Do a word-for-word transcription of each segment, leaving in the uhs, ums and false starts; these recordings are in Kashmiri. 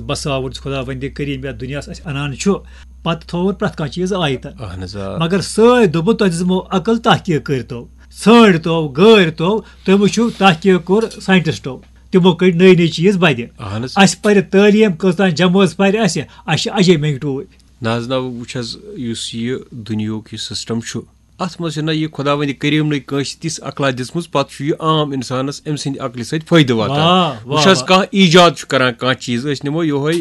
بساوُن چھُ خداوندِ کریم یتھ دُنیاہس اسہِ انان چھُ، پتہٕ تھوٚوُن پرٛٮ۪تھ کانٛہہ چیٖز آیتن۔ اہن حظ آ۔ مگر سٲے دوٚپُن، تۄہہِ دِژمو عقل، تحقیق کٔرتو، ژھٲنٛڈتو، گٲرتو، تُہۍ وٕچھِو تحقیق کوٚر ساینٹسٹو، تِمو کٔڑۍ نٔے نٔے چیٖز بدِ۔ اہن حظ۔ اسہِ پرِ تعلیٖم، کۭژاہ جمٲژ پرِ اسہِ، اسہِ چھِ اجے منگٹوٗ۔ نہ حظ نہ، وٕچھ حظ، یُس یہِ دُنیہُک یہِ سسٹم چھُ، اتھ منٛز چھنہ یہِ خداوندِ کریمنٕے کٲنٛسہِ تِژھ عقلا دِژمٕژ، پتہٕ چھُ یہِ عام انسانس أمۍ سٕنٛدِ عقلہِ سۭتۍ فٲیدٕ واتان۔ واہ، واہ، وٕچھ حظ، واہ۔ کانٛہہ ایجاد چھُ کران کانٛہہ چیٖز، أسۍ نِمو یِہوے،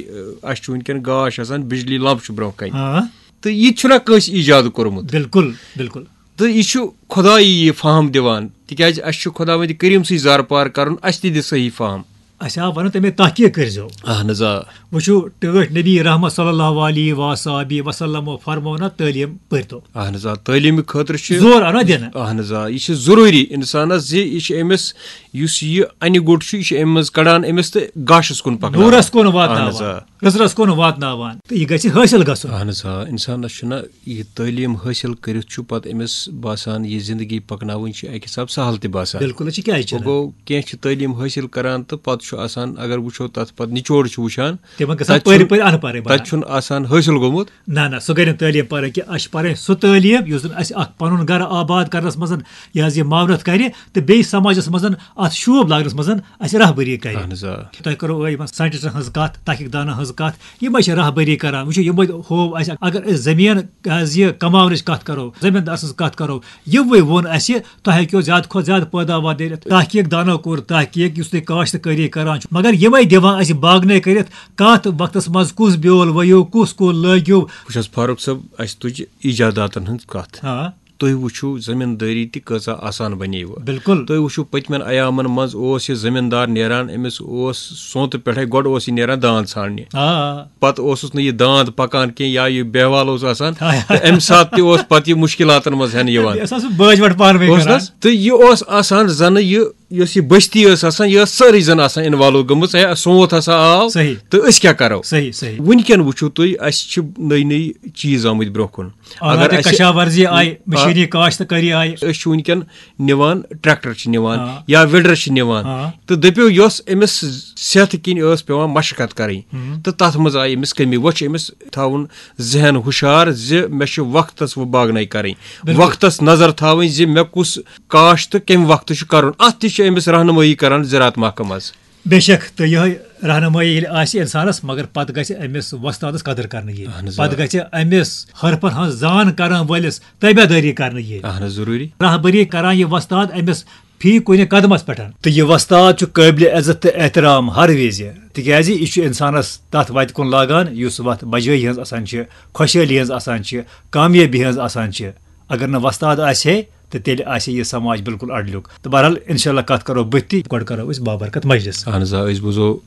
اَسہِ چھُ وٕنکیٚن گاش آسان، بجلی لمپ چھُ برونٛہہ کنہِ، ہاں، تہٕ یہِ تہِ چھُنہ کٲنٛسہِ ایجاد کوٚرمُت۔ بالکل، بالکل۔ تہٕ یہِ چھُ خدایی یہِ فہم دِوان، تِکیازِ اَسہِ چھُ خداوندِ کریٖم سٕے زارٕ پار کرُن، اَسہِ تہِ دِ صحیح فہم۔ اسہِ آو ونُن، تمے تحقیق کٔرزیو۔ اہن حظ آ۔ وٕچھِو، ٹٲٹھۍ نبی رحمت صلی اللہ علیہ و صحابی وسلم فرمونا، تعلیٖم پٔرتو۔ اہن حظ آ، تعلیٖمہِ خٲطرٕ چھِ زور انا دِنہٕ۔ اہن حظ آ، یہِ چھِ ضروٗری انسانس زِ یہِ چھِ أمِس، یُس یہِ انہِ گوٚٹ چھُ، یہِ چھِ أمِس منٛز کڑان أمِس تہٕ گاشس کُن پکناوان۔ نوٗرس کُن واتناوان۔ اہن حظ آ۔ رٕژرس کُن واتناوان۔ تہٕ یہِ گژھِ حٲصِل گژھُن۔ اہن حظ آ، انسانس چھُنہ یہِ تعلیٖم حٲصِل کٔرِتھ چھُ پتہٕ أمِس باسان، یہِ زندگی پکناوٕنۍ چھِ اکہِ حساب سہل تہِ باسان۔ بالکل، أسۍ چھِ کیازِ وۄنۍ چھِنہٕ؟ گوٚو، کینٛہہ چھِ تعلیٖم حٲصِل کران تہٕ پتہٕ چھُ آسان، اگر وٕچھو تتھ پتہٕ نچوڑ چھُ وٕچھان، تِمن گژھان تتہِ چھُنہٕ پٔرۍ پٔرۍ ان پڑھٕے بنان۔ تتہِ چھُنہٕ آسان حٲصِل گوٚمُت۔ نہ نہ، سُہ گٔے نہٕ تعلیٖم پرٕنۍ کینٛہہ، اسہِ چھِ پرٕنۍ سُہ تعلیٖم یُس زن اسہِ اکھ پنُن گرٕ آباد کرنس منٛز یہِ حظ یہِ معاونت کرِ تہٕ بیٚیہِ سماجس منٛز اتھ شوٗب لاگنس منٛز اسہِ رہبری کرِ۔ اہن حظ آ۔ تۄہہِ کٔرو یِمن ساینٹسٹن ہٕنٛز کتھ، تحقیق دانن ہٕنٛز کتھ، یِمے چھِ رہبری کران۔ وٕچھِو، یِمے ہوو اسہِ، اگر أسۍ زٔمیٖن حظ یہِ کماونٕچ کتھ کرو، زٔمیٖندار سٕنٛز کتھ کرو، یِموٕے ووٚن اسہِ، تۄہہِ ہیٚکِو زیادٕ کھۄتہٕ زیادٕ پٲداوار دٔرِتھ۔ تحقیق دانو کوٚر تحقیق، یُس تُہۍ کاشتکٲری کران چھِو، مگر یِمے دِوان اسہِ باغنے کٔرِتھ، کتھ وقتس منٛز کُس بیول ؤیِو، کُس کُل لٲگِو۔ وٕچھ حظ فاروق صٲب، اسہِ تُج ایجاداتن ہٕنٛز کتھ۔ ہاں۔ تُہۍ وٕچھِو زٔمیٖندٲری تہِ کۭژاہ آسان بنے وٕ۔ بالکل۔ تُہۍ وٕچھِو پٔتمٮ۪ن ایامن منٛز اوس یہِ زٔمیٖندار نیران، أمِس اوس سونتہٕ پٮ۪ٹھے، گۄڈٕ اوس یہِ نیران داند ژھانڈنہِ، آ۔ پتہٕ اوسُس نہٕ یہِ داند پکان کینٛہہ یا یہِ بیہوال اوس آسان، آ۔ تہٕ امہِ ساتہٕ تہِ اوس پتہٕ یہِ مُشکلاتن منٛز ہٮ۪نہٕ یِوان۔ یہِ ٲس آسان بٲج وٹ پانہٕ ؤنۍ اوس کران۔ نہ؟ تہٕ یہِ اوس آسان زنہٕ یہِ، یۄس یہِ بستی ٲس آسان، یہِ ٲس سٲرٕے زن آسان انوالو گٔمٕژ، ہے سونت ہسا آو، صحیح۔ تہٕ أسۍ کیٛاہ کرو؟ صحیح، صحیح۔ وٕنکیٚن وٕچھِو تُہۍ، اسہِ چھِ نٔے نٔے چیٖز آمٕتۍ برونٛہہ کُن۔ آلات اگر اسہِ کشاورزی آیہِ، مشینی کاشتکٲری آیہِ۔ أسۍ چھِ وٕنکیٚن نِوان ٹریکٹر چھِ نِوان آ۔ یا ویڈر چھِ نِوان، آ۔ تہٕ دٔپِو یۄس أمِس صحتہٕ کِنۍ ٲس پٮ۪وان مشقت کرٕنۍ، تہٕ تتھ منٛز آیہِ أمِس کٔمی۔ وۄنۍ چھُ أمِس تھاوُن ذہن ہُشار زِ مےٚ چھِ وقتس وۄنۍ باغنٲے کرٕنۍ، بِلکُل۔ وقتس نظر تھاوٕنۍ زِ مےٚ کُس کاشت تہٕ کمہِ وقتہٕ چھُ کرُن، اتھ تہِ چھِ أمِس رہنمٲیی کران زراعت محکمہٕ منٛز۔ بے شک، تہٕ یِہوٚے رہنمٲیی ییٚلہِ آسہِ انسانس، مگر پتہٕ گژھِ أمِس وۄستادس قدر کرنہٕ یِنۍ۔ اہن حظ، آ۔ پتہٕ گژھِ أمِس حرفن ہٕنٛز زان کرن وٲلِس تٲبیدٲری کرنہٕ یِنۍ۔ اہن حظ، ضروٗری۔ رہبری کران یہِ وۄستاد أمِس فی کُنہِ قدمس پٮ۪ٹھ۔ تہٕ یہِ وۄستاد چھُ قٲبلِ عزت تہٕ احترام ہر وِزِ، تِکیازِ یہِ چھُ انسانس تتھ وتہِ کُن لاگان یُس وتھ بجٲیی ہٕنٛز آسان چھِ، خۄشحٲلی ہٕنٛز آسان چھِ، کامیٲبی ہٕنٛز آسان چھِ۔ اگر نہٕ وۄستاد آسہِ ہے، تہٕ تیٚلہِ آسہِ یہِ سماج بالکل اڈلیُک۔ تہٕ بہرحال، انشاءاللہ کتھ کرو بٕتھِ تہِ۔ گۄڈٕ کرو أسۍ بابرکت مجلس۔ اہن حظ آ، أسۍ بوزو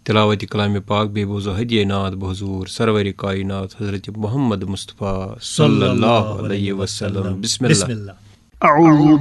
تلاوت کلام پاک، بیٚیہِ بوزو ہدیہ نعت بحضور سرور کائنات حضرت محمد مصطفیٰ صلی اللہ علیہ وسلم۔ بسم اللہ۔ بسم اللہ۔